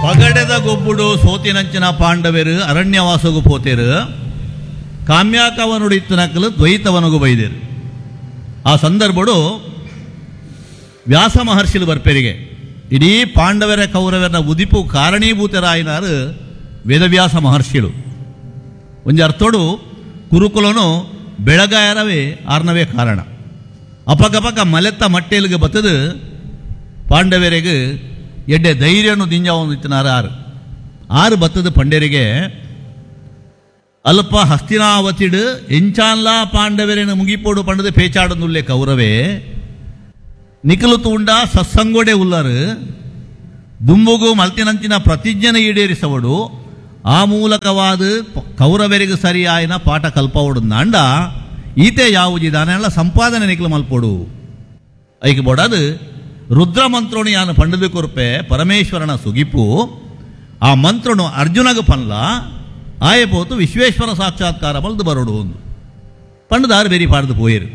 ಪಗಡೆದ ಗೊಬ್ಬುಡು ಸೋತಿನಂಚಿನ ಪಾಂಡವೆರು ಅರಣ್ಯವಾಸಗು ಪೋತೇರು. ಕಾಮ್ಯಾಕವನುಡು ಇತ್ತನಕಲು ದ್ವೈತವನಗು ಬೈದೇರು. ಆ ಸಂದರ್ಭಡು ವ್ಯಾಸ ಮಹರ್ಷಿಲು ಬರ್ಪೆರಿಗೆ ಇಡೀ ಪಾಂಡವರ ಕೌರವರ ಉದಿಪು ಕಾರಣೀಭೂತರಾಯಿನಾರು ವೇದವ್ಯಾಸ ಮಹರ್ಷಿಲು. ಒಂಜಿ ಅರ್ಥೋಡು ಕುರುಕುಲನು ಬೆಳಗಾಯರವೇ ಆರ್ನವೇ ಕಾರಣ. ಅಪಕಪಕ ಮಲೆತ್ತ ಮಟ್ಟೆಲಿಗೆ ಬತ್ತದು ಪಾಂಡವರಿಗೆ ಎಡ್ಡೆ ಧೈರ್ಯನು ದಿಂಜಾವೊಂದಿತ್ತಿನಾರು ಆರು ಆರು ಬತ್ತದ ಪಂಡರಿಗೆ ಅಲ್ಪ ಹಸ್ತಿನಾವತಿಡು ಎಂಚಾನ್ಲಾ ಪಾಂಡವರೇನು ಮುಗಿಪೋಡು ಪಂಡದ ಪೇಚಾಡನುಲ್ಲೆ ಕೌರವೇ ನಿಖಲು ತೂಂಡ ಸತ್ಸಂಗೋಡೆ ಉಲ್ಲರು ದುಂಬುಗು ಮಲ್ತಿನಂಚಿನ ಪ್ರತಿಜ್ಞೆನ ಈಡೇರಿಸವಡು ಆ ಮೂಲಕವಾದ ಕೌರವರಿಗೆ ಸರಿಯಾಯಿನ ಪಾಠ ಕಲ್ಪವಡು ನಾಂಡ ಈತೆ ಯಾವುಜಿದಾನೆಲ್ಲ ಸಂಪಾದನೆ ನಿಖಲು ಮಲ್ಪೋಡು ಐಕೆ ಬೋಡಾದು ರುದ್ರ ಮಂತ್ರೋಣಿ ಯಾನು ಪಂಡದು ಕೊರ್ಪೆ ಪರಮೇಶ್ವರನ ಸುಗಿಪು ಆ ಮಂತ್ರನು ಅರ್ಜುನಗ ಪನ್ಲ ಆಯೆ ಪೋತು ವಿಶ್ವೇಶ್ವರ ಸಾಕ್ಷಾತ್ಕಾರ ಬಲ್ದು ಬರೋಡು ಒಂದು ಪಂಡದಾರು ಬೇರಿ ಪಾಡ್ದು ಪೋಯಿರು.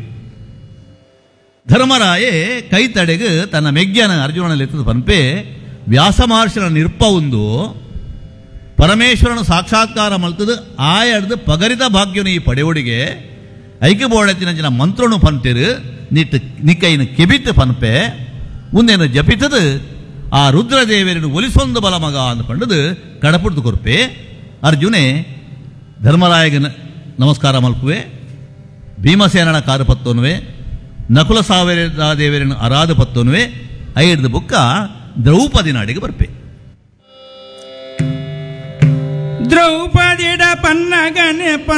ಧರ್ಮರಾಯೆ ಕೈತಡೆಗು ತನ್ನ ಮೆಗ್ಯನ ಅರ್ಜುನನಲ್ಲಿ ಪನ್ಪೆ ವ್ಯಾಸ ಮಹರ್ಷಿನ ನಿರ್ಪ ಒಂದು ಪರಮೇಶ್ವರನ ಸಾಕ್ಷಾತ್ಕಾರ ಮಲ್ತದು ಆಯಡ್ದು ಪಗರಿತ ಭಾಗ್ಯನು ಈ ಪಡೆಯೋಡಿಗೆ ಐಕೆ ಬೋಳತ್ತಿನ ಜನ ಮಂತ್ರನು ಪಂತಿರು ನಿಟ್ಟು ನಿಕ್ಕೈನ ಕೆಬಿತ್ತು ಪನ್ಪೆ ಮುಂದೇನು ಜಪಿತದು ಆ ರುದ್ರದೇವರನ್ನು ಒಲಿಸೊಂದು ಬಲ ಮಗ ಅಂದ್ಕೊಂಡದು ಕಡಪುಡ್ದು ಕೊರ್ಪೆ. ಅರ್ಜುನೆ ಧರ್ಮರಾಯಗ ನಮಸ್ಕಾರ ಮಲ್ಪುವೆ, ಭೀಮಸೇನನ ಕಾರು ಪತ್ತೋನುವೆ, ನಕುಲ ಸಾವಿರ ದೇವರನ್ನು ಅರಾದ ಪತ್ತೋನುವೆ, ಐಡ್ದು ಬುಕ್ಕ ದ್ರೌಪದಿ ನಾಡಿಗೆ ಬರ್ಪೆ. ದ್ರೌಪದಿಡ ಪನ್ನಗನೆ ಪನ್ನ.